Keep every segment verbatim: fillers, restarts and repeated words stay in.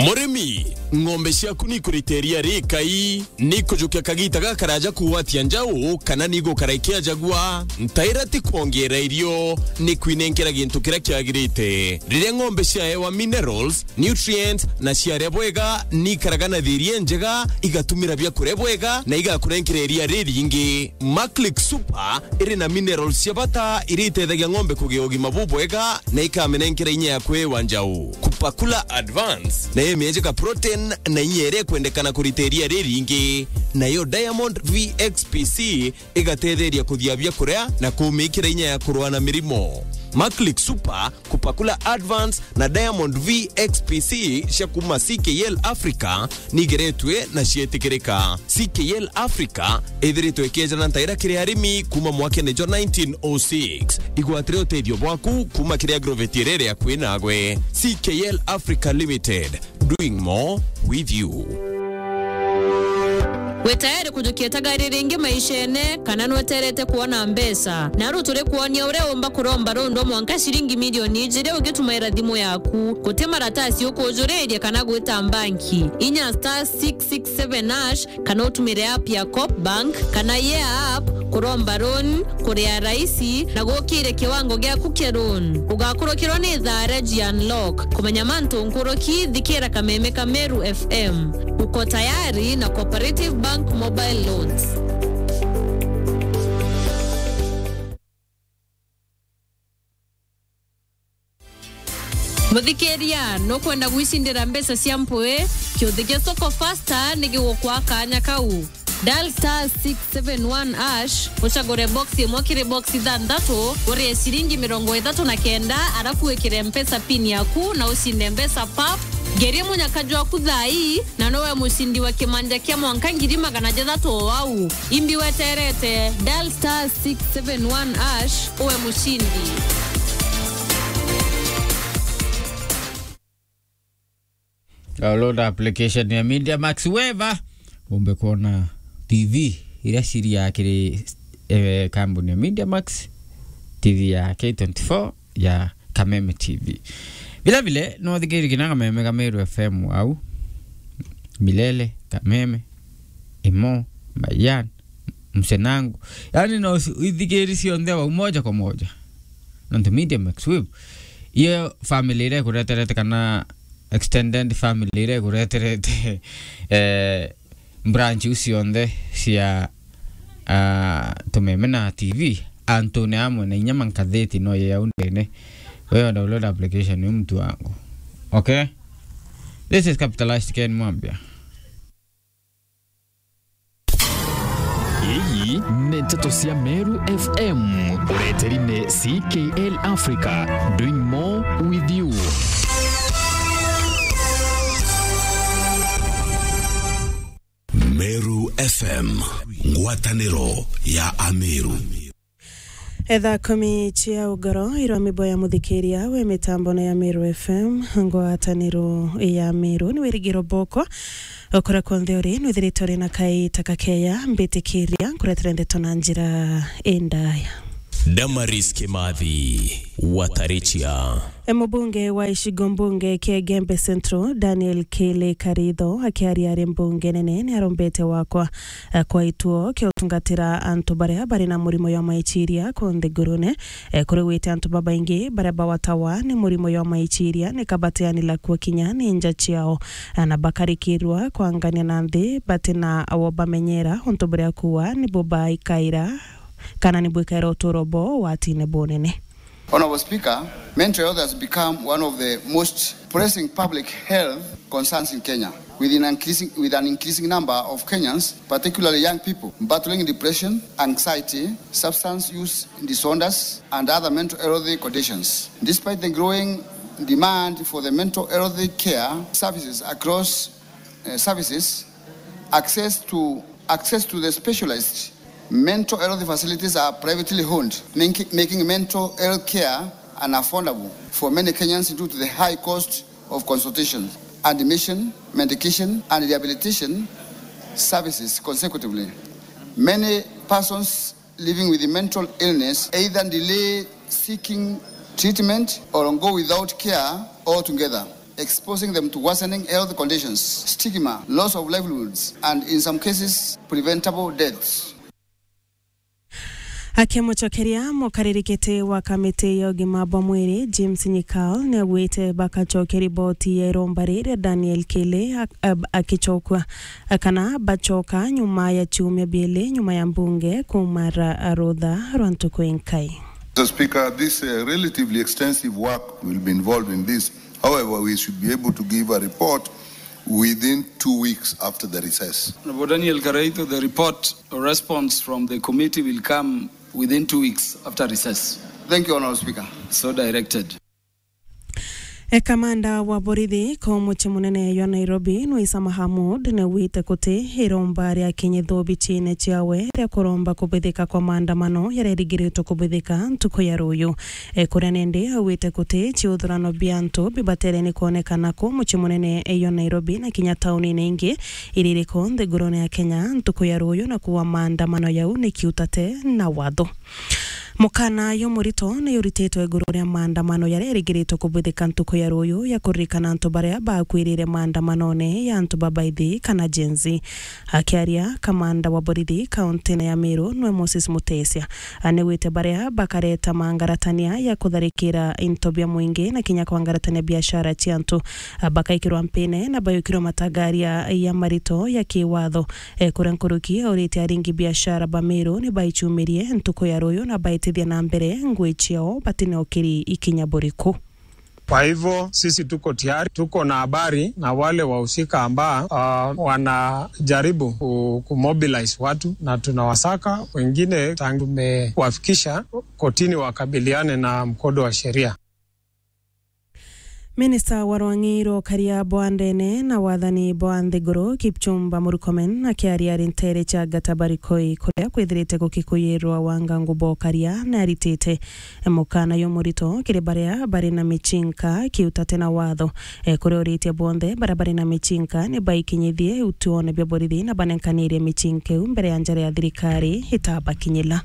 Murimi, ng'ombe ciaku ni ikurita iria rikai, ni ikujukia kagita gakaraja kugwatia njau, kana ni igukara ikiajagua? Ntaira ti kwongeera irio, ni kwinenkera gintu kiria kiagirite. Riria ng'ombe ciaewa minerals, nutrients, na ciaria bwega, ni ikaraga na thiiri injega, igatumira biakuria bwega, na igakurenkera iria riringi. Maclick Super iri na minerals cia bata iria itethagia ng'ombe kugia ugima bubwega na ikamenenkera inya ya kwiwa njau. Kupakula Advance nayo imienjeka protein na inya iria ikwendekana kurita iria riringi. Nayo Diamond V X P C igatetheria kuthia biakuria na kumikira inya ya kurua na mirimo. Maclick Super, Kupakula Advance na Diamond V X P C cia kuma C K L Africa nigeretwe na cietikirika. C K L Africa ithiritwe ikiejana ntaira kiri arimi kuma mwakene jwa nineteen oh six. Igwatire utethio bwaku kuma kiri agrovet iria iri akui nagwe. C K L Africa Limited, doing more with you. Wi tayari kujukia itagari ringi maishene, kana nweterete kwona mbeca? Naru turi kwonia uria umba kuromba rundwa mwanka ciringi milioni ijiri ugitumaira thimu yaku. Guti maratasi ukujuriria kana gwita mbanki. Inya star six six seven hash kana utumire app ya Coop Bank kana Yeah App kuromba loan, kuria raisi na gukire kiwango giaku kia loan. Ugakurukirwa ni thaa ria ji unlock. Kumenya mantu nkuruki, thikira Kameme ka Meru F M. Uko tayari na Cooperative Bank Mobile Loans. Muthikiria, nukwenda gwicindira mbeca cia mpui? Kiuthi gia Soko Fasta ni gigukwa kanya kau. Dial star six seven one hash, ucagure box imwe kiri box ithanthatu, urie ciringi mirongo ithatu na kenda, arafu wikire Mpesa pin yaku na ucinde mbeca pap. Ngeria munyaka jwaku thaa ii, na nowe mucindi wa kimanja kia mwanka ngiri magana jathatu o au. Imbi weterete, dial star six seven one hash, uwe mucindi. Download application ya Media Max Weva, umbe kuona T V iria ciria kiri, eh, kambuni ya Media Max, T V ya K twenty-four, ya Kameme T V. Vile vile, no uthikiririe kinya Kameme ka Meru F M au, Milele, Kameme, Imo, Mayan, Msenangu. Yaani, no uci-, uithikiri cionthe au moja kwa moja. Nontu Media Max Wave, iyo family iria ikureterete kana extended family iria ikureterete, eh, branch iu cionthe cia, ah, Tumeme na T V, antune amwe na inya mankatheti no ye au ndene. Wewe download application ni mtu wangu. Okay? This is Capitalized Ken Mwambia. Ii ni nteto cia Meru F M, ureteri ni C K L Africa, doing more with you. Meru F M, ngwataniro ya Ameru. Etha kumi cia ugoro irwa mibo ya muthikiria we mitambo na ya Meru F M, ngwataniro ya Meru, ni wirigiro boko. Okora kwonthe uri, nwithirite uri na kaita kakeya, mbitikiria nkuretere ndeto na njira indaya. Damaris Kimathi, Watarichia. E, mubunge wa icigo mbunge kia Igembe Central, Daniel Kili Karitho, akiaria ari mbunge nene, ni arombete wakwa, e, kwa ituo kia utungatira antu baria bari na murimo jwa maiciria ku nthigurune. E, kuri gwite antu babaingi baria bawatawa ni murimo jwa maiciria, ni kabateanila kuo kinya ni nja ciao, e, na bakarikirwa kwangania na nthi batina wo bamenyera untu buria kuwa nibo baikaira kana ni bwikaira uturo bo watine bunene. Honorable Speaker, mental health has become one of the most pressing public health concerns in Kenya, with an increasing, with an increasing number of Kenyans, particularly young people, battling depression, anxiety, substance use disorders, and other mental health conditions. Despite the growing demand for the mental health care services across, uh, services, access to, access to the specialized mental health facilities are privately owned, making, making mental health care unaffordable for many Kenyans due to the high cost of consultation, admission, medication, and rehabilitation services consecutively. Many persons living with mental illness either delay seeking treatment or go without care altogether. exposing them to worsening health conditions, stigma, loss of livelihoods, and in some cases, preventable deaths. Akimucokeria, mukaririkiti wa kamiti ya ugima bwa mwiri, James Nyikal, niaugite bakacokia riboti ya iromba riria Daniel Kili ak-, ab-, akicokua, kana bacoka nyuma ya ciumia biili nyuma ya mbunge kuuma ra-, rutha rwa ntuku inkai. Mister Speaker, this, uh, relatively extensive work will be involved in this. However, we should be able to give a report within two weeks after the recess. Honorable Daniel Karaithu, the report or response from the committee will come within two weeks after recess. Thank you, Honorable Speaker. So directed. E, kamanda wa borithi ka mucii munene jwa Nairobi, Nwisa Mahamud, niaugite kuti iromba riakinyithua obicine ciawe ria kuromba kubithika kwa maandamano jaria jarigiritwe kubithika ntuku ya ruuju. E, kuria nindi augite kuti ciuthurano bia antu bibatere ni kwonekana ku mucii munene jwa Nairobi na kinya taunine ingi iria iri ku nthigurune ya Kenya ntuku ya ruuju, na kuuga maandamano jau ni kiutate na watho. Mukana jumurito ni jurititwe iguru ria maandamano jaria jarigiritwe kubithika ntuku ya ruuju ja kuririkana antu baria bakwirire maandamanone ja antu babaithi kana Gen Z. Akiaria, kamanda wa borithi kauntine ya Meru nwe Moses Mutesia, niaugite baria bakareta mangaratania ja kutharikira into bia mwingi na kinya kwangaratania biashara cia antu, bakaikirwa mpine na bayukirwa matagaria ja marito ja kiwatho. E, kuria nkuruki aurite aringi biashara ba Meru ni baicumirie ntuku ya ruuju na baitithia na mbere ngui ciao batinaukiri ikinya buriku. Kwa hivyo sisi tuko tayari, tuko na habari na wale wahusika ambao, ah, wanajaribu ku-, kumobilize watu na tunawasaka, wengine tangu tumewafikisha kotini wakabiliane na mkondo wa sheria. Minista wa rwang'i rwa ukaria bwa ndene na wathani bwa nthiguru, Kipchumba Murkomen, akiaria ari nteere cia Gatabarikoi, kuria kwithirite gukikuyirwa wangangu bwa ukaria, ni aritite mukana jumurito kiri baria bari na micinka kiutate na watho. E, kuria uritie bonthe baria bari na micinka ni baikinyithie utuone bia borithi na banenkanirie micinka iu mbere ya njara ya thirikari itabakinyila.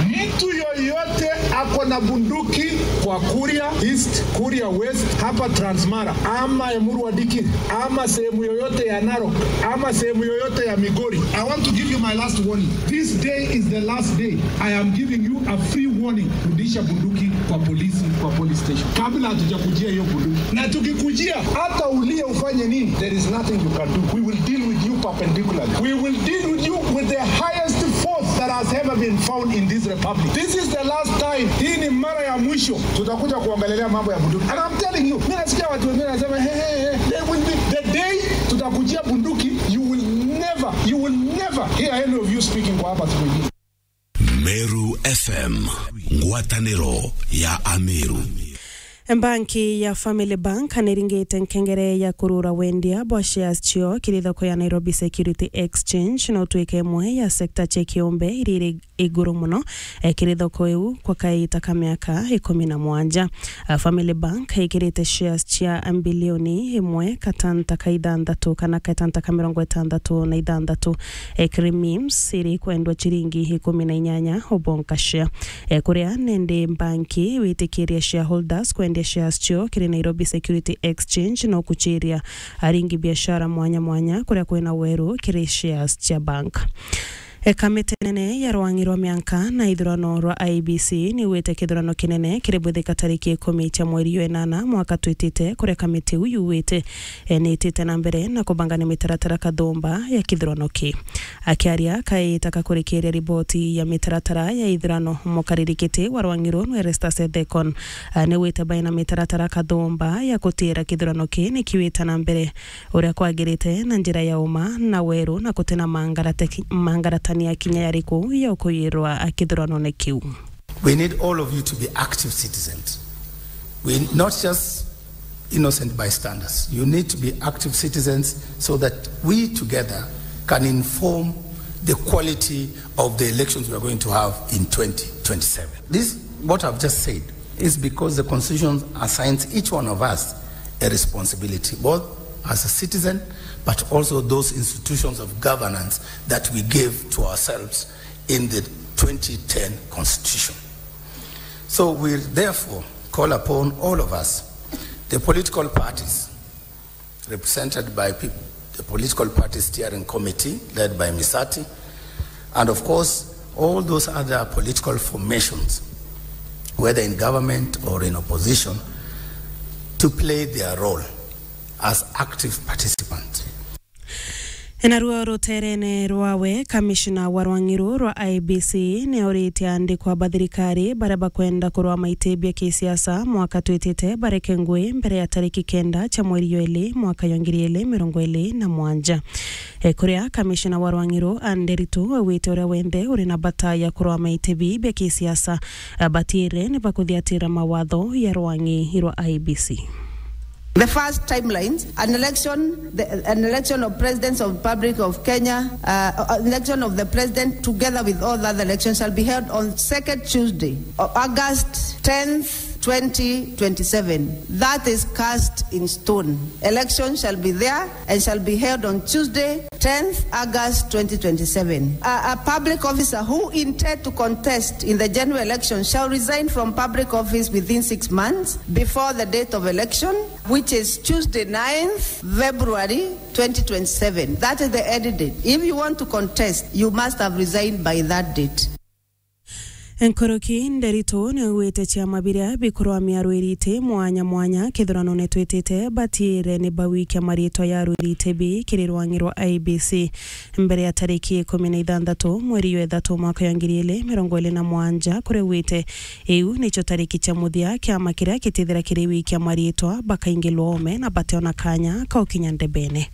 Mtu yoyote ako na bunduki kwa Kuria East, Kuria West, hapa Transmara, ama Emurua Dikirr, ama sehemu yoyote ya Narok, ama sehemu yoyote ya Migori, I want to give you my last warning. This day is the last day. I am giving you a free warning. Rudisha bunduki kwa polisi, kwa police station, kabla hatujakujia hiyo bunduki. Na tukikujia, hata ulie ufanye nini, there is nothing you can do. We will deal with you perpendicularly. We will deal with you with the highest force that has ever been found in this republic. This is the last time. Hii ni mara ya mwisho tutakuja kuongelelea mambo ya bunduki. And I'm telling you, mimi nasikia watu wengine wanasema, "Hey, hey, hey, there will be the day tutakujia bunduki, you will never, you will never hear any of you speaking kwa hapa siku ingine." Meru F M, ngwataniro ya Ameru. Banki ya Family Bank niringite nkengere ya kurura wendia bwa shares cio kiri thoko ya Nairobi Security Exchange, na utwike imwe ya sector cia kiumbe iria iri iguru muno, e, kiri thoko iu kwa kaita ka miaka ikumi na mwanja. A, Family Bank ikirite shares cia bilioni imwe katanta ka ithanthatu kana katanta ka mirongo itandatu na ithanthatu. E, kiri MIMS iri kwendwa ciringi ikumi na inyanya o bonka share. E, kuria nindi banki witikiria shareholders kwendia shares cio kiri Nairobi Security Exchange no kuchiria aringi biashara mwanya mwanya kuria kwina weru kiri shares cia bank. E, kamiti nene ya rwang'i rwa mianka na ithurano rwa I E B C niwite kithurano kinene kiribwithika tariki ikumi cia mweri jwa inana mwaka twitite, kuria kamiti iu yuwite, e, niitite na mbere na kubangania mitaratara kathumba ya kithurano ki. Akiaria kaita kakurikiria riboti ya mitaratara ya ithurano, mukaririkiti wa rwang'i ruu nwe Erastus Ethekon, a, niwite baina mitaratara kathumba ya kutiira kithurano ki nikiwite na mbere uria kwagirite na njira ya uma na weru na gutina mangarate-, mangaratania kinya yariku ya ukuyirwa kithuranone kiu. We need all of you to be active citizens. We not just innocent bystanders. You need to be active citizens so that we together can inform the quality of the elections we are going to have in twenty twenty-seven. This, what I've just said, is because the Constitution assigns each one of us a responsibility, both as a citizen, but also those institutions of governance that we gave to ourselves in the twenty ten Constitution. So we therefore call upon all of us, the political parties, represented by peop-, the political party steering committee led by Misati, and of course, all those other political formations, whether in government or in opposition, to play their role as active participants. Naruo ruteerene rwawe, kamishna wa rwang'i ruu rwa I E B C ni auritie aandikwa ba thirikari baria bakwenda kurwama iti bia kisiasa mwaka twitite bareke ngui mbere ya tariki kenda cia mweri jwa ili mwaka jwa ngiri ili mirongo ili na mwanja. E, kuria kamishna wa rwang'i ruu Anne Nderitu augite uria wenthe uri na bata ya kurwama iti bii bia kisiasa, a, batiire ni bakuthiatira mawatho ya rwang'i rwa I E B C. The first timelines, an election, the, an election of Presidents of Republic of Kenya, uh, uh, election of the President together with all other elections shall be held on second Tuesday of August tenth, twenty twenty-seven. That is cast in stone. Election shall be there and shall be held on Tuesday, tenth August twenty twenty-seven. A, a public officer who intend to contest in the general election shall resign from public office within six months before the date of election, which is Tuesday, ninth February twenty twenty-seven. That is the end date. If you want to contest, you must have resigned by that date. Nkuruki, Nderitu ni augite ciama biria bikurwamia arwiri iti mwanya mwanya kithuranone twitite batiire ni bawikia mariitwa ya arwiri iti bii kiri rwang'i rwa I E B C mbere ya tariki ikumi na ithanthatu mweri jwa ithatu mwaka jwa ngiri ili mirongo ili na mwanja, kuria augite iu nicio tariki cia muthia kiama kiria kitithira kiri wikia mariitwa bakaingilwa oome na bateona kanya ka ukinya ndebene.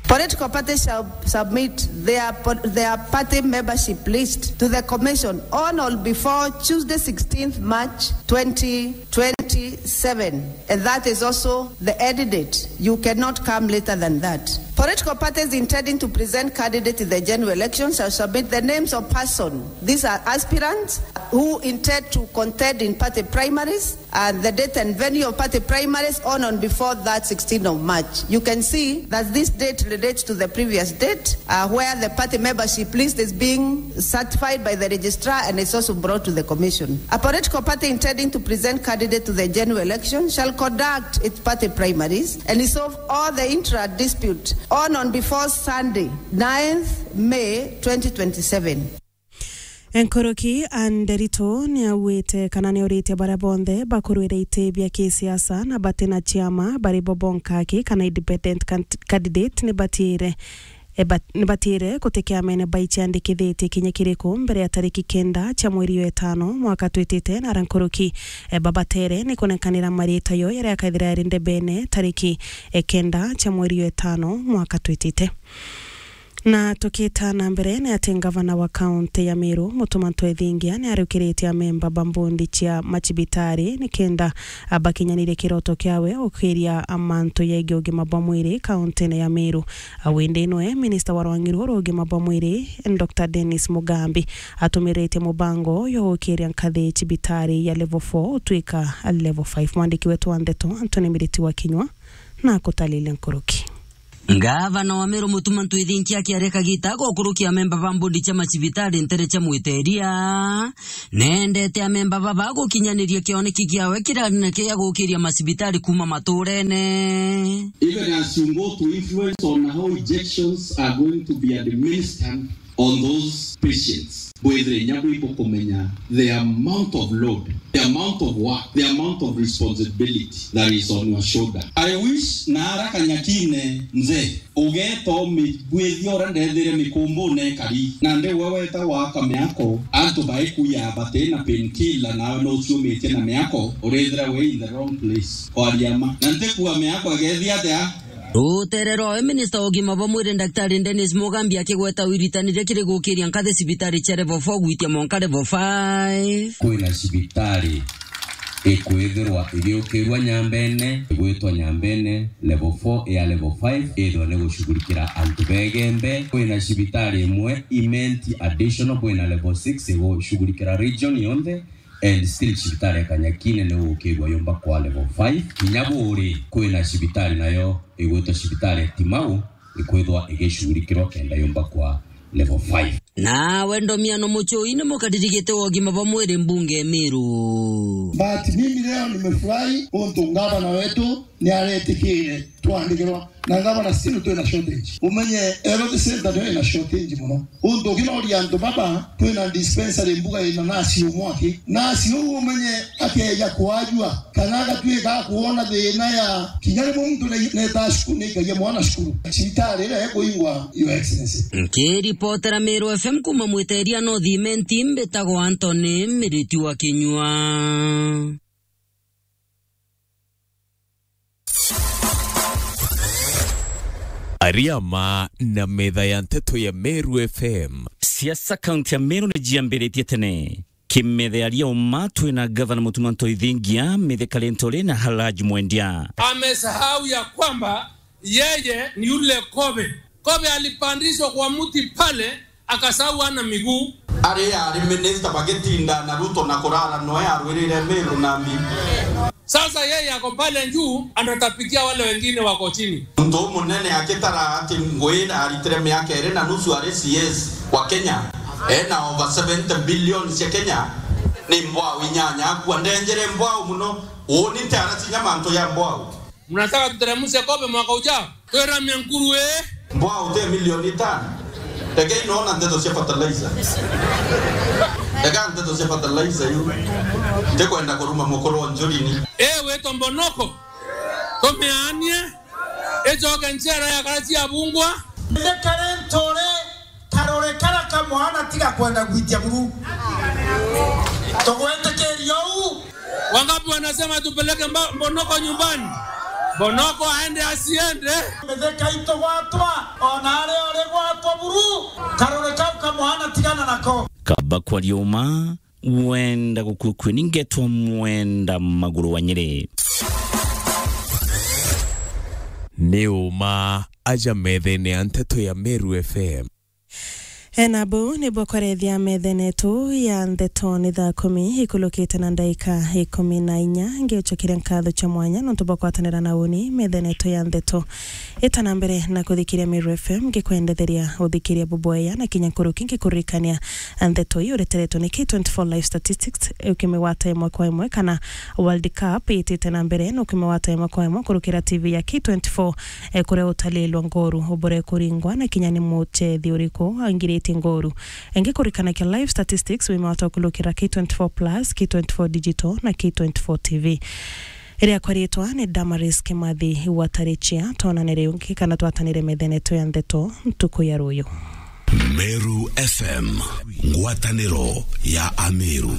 Political parties shall submit their po-, their party membership list to the commission on or before Tuesday, sixteenth March twenty twenty-seven, and that is also the end date. You cannot come later than that. Political parties intending to present candidates in the general election shall submit the names of person, these are aspirants, who intend to contend in party primaries, and the date and venue of party primaries on and before that sixteenth of March. You can see that this date relates to the previous date, uh, where the party membership list is being certified by the registrar and is also brought to the commission. A political party intending to present candidate to the general election shall conduct its party primaries and resolve all the intra dispute on and before Sunday, ninth May twenty twenty-seven. Nkuruki, Anne Nderitu ni augite kana ni auritie baria bonthe bakurwira iti bia kisiasa na bati na ciama bari bo bonka aki kana independent can-, candidate ni batiire, e, bat-, ni batiire guti kiamene baiciandikithitie kinya kiriku mbere ya tariki kenda cia mweri jwa itano mwaka twitite, na ara nkuruki, e, babatere ni kunekanira mariita yo jaria akaithira jari ndebene tariki, e, kenda cia mweri jwa itano mwaka twitite. Na tukita na mbere, ni ati ngavana wa kaunti ya Meru, Mutuma M'Ethingia, ni arukiritie amemba ba mbondi cia macibitari nikenda bakinyanirie kiroto kiawe ukiria mantu yegii ugima bwa mwiri kauntine ya Meru. Windi nwe minista wa rwang'i ruu rwa ugima bwa mwiri, Doctor Dennis Mugambi, atumiritie mubango uyu ukiria nkathi cibitari ya level four utwika level five. Mwandiki wetu wa ndeto, Anthony Miriti wa Kinyua, na akutalile nkuruki. Ngavana wa Meru Mutuma M'Ethingia akiaria kagita gukurukia amemba ba mbondi cia macibitari ntere cia Mwiteria, nendete amemba baba gukinyaniria kioneki kiawe kiria ni kia gukiria macibitari kuuma maturene. Even as you go to influence on how injections are going to be administered, on those patients. Bwithire inya bwi bukumenya the amount of load, the amount of work, the amount of responsibility that is on your shoulder. I wish na ara Kanyakine nze, ugeta umibwithia uria ndethire mikumbune ikari. Na ndi we weta waka miako, antu baikuya bati na painkiller, nawe no uciumitie na miako, urithira wi in the wrong place. Kwaria ma. Na ntikua miako igethia atia? Rutere rwawe, minista wa ugima bwa mwiri, Daktari Dennis Mugambi, akigweta wiritaniria kiri gukiria nkathi cibitari cia level four gwitia mwanka level five. Kwina cibitari ikwithirwa igiukirua Nyambene, igwitwa Nyambene level four ya level five, ithwa ni gushughulikira antu begembe. Kwina cibitari imwe imenti additional, kwina level six igushughulikira region yonthe. And still cibitari ya Kanyakine ni ugukirua yumba kwa level five. Kinya buri kwina cibitari nayo igwitwa cibitari ya Timau ikwithwa igicurikirwa kenda yumba kwa level five. Nawe Ndomiano Muchui ni mukariri giti wa ugima bwa mwiri mbunge Meru. But mimi Leo nimefurahi untu ngavana wetu ni aretikire twandikirwa na ngavana, still twina shortage. Umenye health center niyo ina shortage muno. Untu ukinoria antu baba, twina dispensary mbuga ina nasi umwe aki. Nasi uu umenye akeja kwajua, kana agatuika akuona thina ya kinya rimwe muntu ne-, neta cukuru nikagia mwana cukuru. Cibitari iria ikuingwa, Your Excellency. Nkiripotera Meru F M kuma Mwiteria North Imenti, mbitagwa Anthony Miriti wa Kinyua. Ariama na metha ya nteto ya Meru F M. Siasa kaunti ya Meru ni jiambiritie tene. Kimethe aria uma twina gavana Mutuma Ntoithingia, Mithe Kalentore na Halaji Mwendia. Amesahau ya kwamba yeye ni yule kobe. Kobe alipandishwa kwa mti pale, akasahau ana miguu. Ari ari minister bagitinda na Ruto na kurara noe arwirire Meru Nandi. Sasa yeye ako pale juu, anatapikia wale wengine wako chini. Muntu umunene akitara ati ngwira aritire miaka iri na nusu ari C S wa Kenya, ena over seventy billion cia Kenya, ni mbwau inyanya akua. Ndenjere mbwau muno, uni ntiaracinya mantu ya mbwau. Mnataka tuteremshe kobe mwaka ujao? Twira mia nkuru, eh? Mbwau te milioni itano. Rekei noona nteto cia fertilizer. Reka nteto cia fertilizer iu. Ndikwenda kuruma mukuru wa njurini. Eh, witwa Mbonoko. Tumianie. Icoke ncera ya kara cia bungwa. Ndikare ntore karore kara kamwana tiga kwenda gwitia buru. Tugwitikiria uu. Wangapi wanasema tupeleke mba-, Mbonoko nyumbani? Mbonoko aende asiende? Mitheka itu gwatwa, ona ari ori gwatwa buru, karore kau kamwana tigana nako. Kaba kwa riuma, wenda gukukue ni ngetwa mwenda maguru wa Nyeri. Ni uma aja methene ya nteto ya Meru F M. Ena buu ni bwa kwarethia methene yetu ya ndeto ni thaa kumi ikulukite na ndaika ikumi na inya. Ngiucokeria nkatho cia mwanya nontu bwa kwatanira na uni methene yetu ya ndeto. Ita na mbere na kuthikiria Meru F M, ngikwendetheria uthikiria bubwea na kinya nkuruki ngikuririkania ndeto ii ureteretwe ni K twenty-four Live Statistics, ukimigwata imwe kwa imwe kana World Cup itite na mbere, na ukimigwata imwe kwa imwe kurukira T V ya K twenty-four, eh, kuria utalilwa ngoru ubure kuringwa na kinya ni muchethi uriku angiritie ngoru. Ingi kurikanakia live statistics, wimata kulukira K twenty-four Plus, K twenty-four Digital na K twenty-four T V. Riakwa ritwa ni Damaris Kimathi wa Tarichia. Twonane ringi kana twatanire methene yetu ya ndeto ntuku ya ruyu. Meru F M, ngwataniro ya Ameru.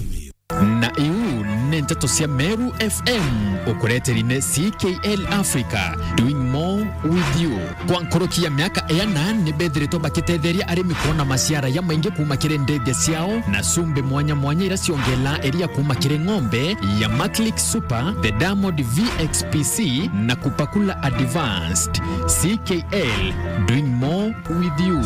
Na iu ni nteto cia Meru F M, ukureteri ni C K L Africa, doing more with you. Kwa nkuruki ya miaka iana, ni bethiritwe bakitetheria arimi kwona maciara ya maingi kuuma kiri ndithia ciao, na cumbi mwanya mwanya ira ciongela iria kuuma kiri ng'ombe ya Maclick Super, the Diamond V X P C, na Kupakula Advanced. C K L, doing more with you.